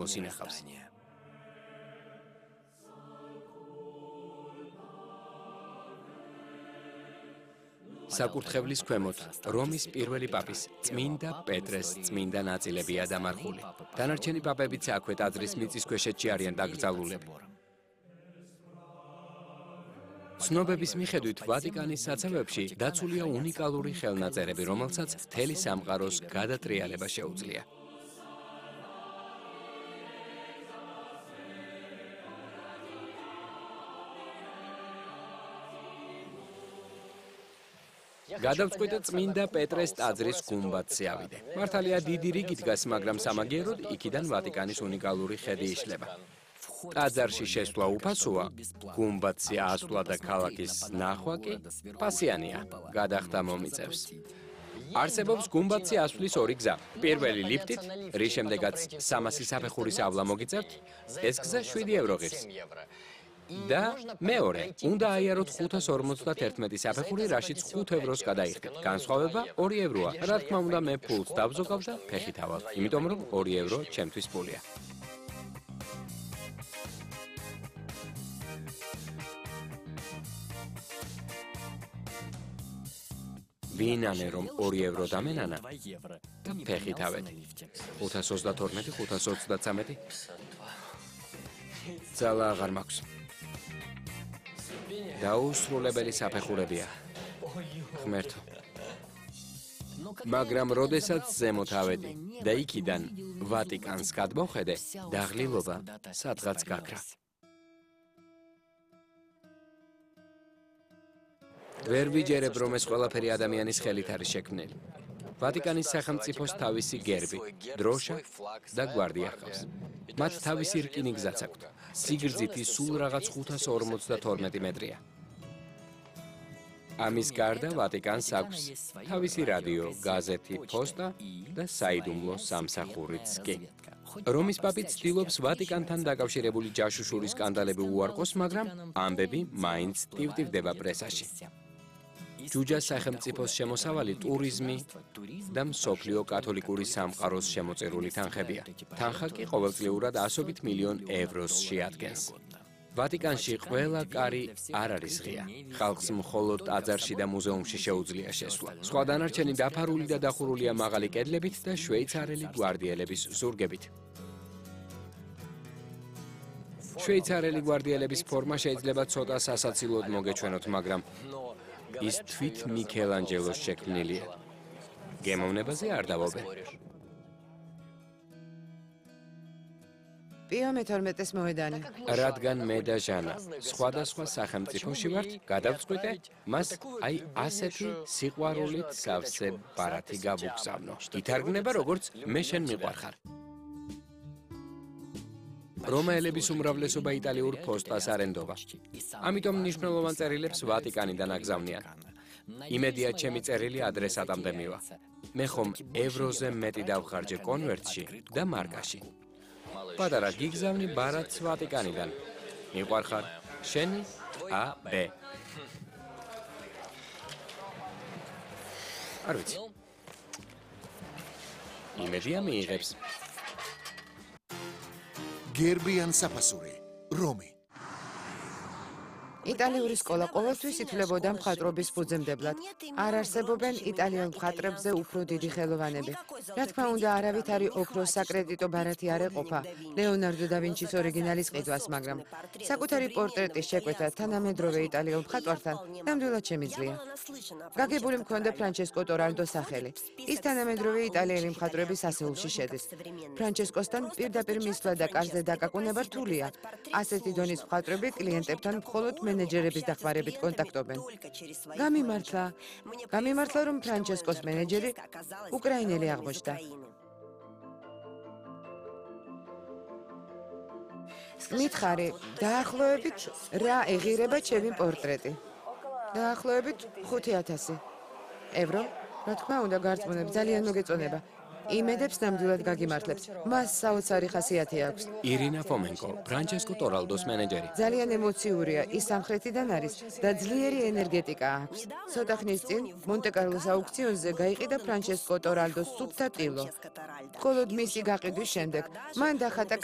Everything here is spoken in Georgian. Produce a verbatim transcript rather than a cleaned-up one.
ინახავს. საკურთხევლის ქვემოთ რომის პირველი პაპის წმინდა პეტრეს წმინდა ნაწილებია დამარხული. დანარჩენი პაპებიც აქვე ტაძრის მიწისქვეშეთში არიან დაკრძალულები. ცნობების მიხედვით ვატიკანის საცავებში დაცულია უნიკალური ხელნაწერები, რომელსაც მთელი სამყაროს გადატრიალება შეუძლია. გადავწყვიტე წმინდა პეტრეს ტაძრის გუმბათზე ავიდე. მართალია დიდი რიგი დგას, მაგრამ სამაგიეროდ იქიდან ვატიკანის უნიკალური ხედი იშლება. ტაძარში შესვლა უფასოა, გუმბათზე ასვლა და ქალაქის ნახვა კი პასიანია, გადახდა მომიწევს. არსებობს გუმბათზე ასვლის ორი გზა. პირველი ლიფტით, რის შემდეგაც სამასი საფეხურის ავლა მოგიწევთ, ეს გზა შვიდი ევრო ღირს. და მეორე, უნდა აიაროთ ხუთას ორმოცდაათი საფეხური, რაშიც ხუთ ევროს გადაიხდეთ. განსხვავება ორი ევროა. რა თქმა უნდა, მე ფულს დავზოგავ და ფეხით ავალ, იმიტომ რომ ორი ევრო ჩემთვის ფულია. ვინანე რომ ორი ევრო დამენანა და ფეხით ავედი. ხუთას ოცდათორმეტი, ხუთას ოცდაცამეტი. ძალა აღარ მაქვს. დაუსრულებელი საფეხურებია. ღმერთო. მაგრამ როდესაც ზემოთ ავედი და იქიდან ვატიკანს გადმოვხედე, დაღლილობა სადღაც გაქრა. ვერ ვიჯერებ, რომ ეს ყველაფერი ადამიანის ხელით არის შექმნილი. ვატიკანის სახელმწიფოს თავისი გერბი, დროშა და გვარდია ჰყავს. მათ თავისი რკინი გზაც აქვთ. სიგრძით ის სულ რაღაც ხუთას ორმოცდათორმეტი მეტრია. ამის გარდა ვატიკანს აქვს თავისი რადიო, გაზეთი, პოსტა და საიდუმლო სამსახურიც კი. რომის პაპი ცდილობს ვატიკანთან დაკავშირებული ჯაშუშური სკანდალები უარყოს, მაგრამ ამბები მაინც ტივტივდება პრესაში. ჯუჯას სახელმწიფოს შემოსავალი ტურიზმი და მსოფლიო კათოლიკური სამყაროს შემოწირული თანხებია. თანხა კი ყოველწლიურად ასობით მილიონ ევროს შეადგენს. ვატიკანში ყველა კარი არ არის ღია. ხალხს მხოლოდ ტაძარში და მუზეუმში შეუძლია შესვლა. სხვა დანარჩენი დაფარული და დახურულია მაღალი კედლებით და შვეიცარიელი გვარდიელების ზურგებით. შვეიცარიელი გვარდიელების ფორმა შეიძლება ცოტა სასაცილოდ მოგეჩვენოთ, მაგრამ ის თვით მიქელანჯელოს შექმნილია. გემოვნებაზე არ დავობენ. პიო მეთორმეტეს მოედანი. რადგან მე და ჟანა სხვადასხვა სახელმწიფოში ვართ, გადავწყვიტე მას აი ასეთი სიყვარულით სავსე ბარათი გავუგზავნო. ითარგმნება როგორც მე შენ მიყვარხარ. რომაელების უმრავლესობა იტალიურ ფოსტას არ ენდობა. ამიტომ მნიშვნელოვან წერილებს ვატიკანიდან აგზავნიან. იმედია ჩემი წერილი ადრესატამდე მივა. მე ხომ ევროზე მეტი დავხარჯე კონვერტში და მარკაში. პატარა გიგზავნი ბარათს ვატიკანიდან. მიყვარხარ, შენი ა ბ. არ ვიცი. იმედია მიიღებს. გერბიან საფასური, რომი. იტალიური სკოლა ყოველთვის ითვლებოდა მხატვრობის ფუძემდებლად. არ არსებობენ იტალიელ მხატვრებზე უფრო დიდი ხელოვანები. რა თქმა უნდა, არავით არის ოქროს საკრედიტო ბარათი არ ეყოფა ლეონარდო და ვინჩის ორიგინალის ყიდვას, მაგრამ საკუთარი პორტრეტის შეკვეთა თანამედროვე იტალიელ მხატვართან ნამდვილად შემიძლია. გაგებული მქონდა ფრანჩესკო ტორალდოს სახელი. ის თანამედროვე იტალიელი მხატვრების ასეულში შედის. ფრანჩესკოსთან პირდაპირ მისვლა და კარზე დაკაკუნება რთულია. ასეთი დონის მხატვრები კლიენტებთან მხოლოდ მენეჯერების დახმარებით კონტაქტობენ. გამიმართლა, გამიმართლა, რომ ფრანჩესკოს მენეჯერი უკრაინელი აღმოჩნდა. მითხარი, დაახლოებით რა ეღირება ჩემი პორტრეტი? დაახლოებით ხუთი ათასი ევრო. რა თქმა უნდა, გარწმუნებ, ძალიან მოგეწონება. იმედებს ნამდვილად გაგიმართლებთ. მას საოცარი ხასიათი აქვს. ირინა ფომენკო, ფრანჩესკო ტორალდოს მენეჯერი. ძალიან ემოციურია, ის სამხრეთიდან არის და ძლიერი ენერგეტიკა აქვს. ცოტა ხნის წინ მონტე-კარლოს აუქციონზე გაიყიდა ფრანჩესკო ტორალდოს სუფთა ტილო. მხოლოდ მისი გაყიდვის შემდეგ მან დახატა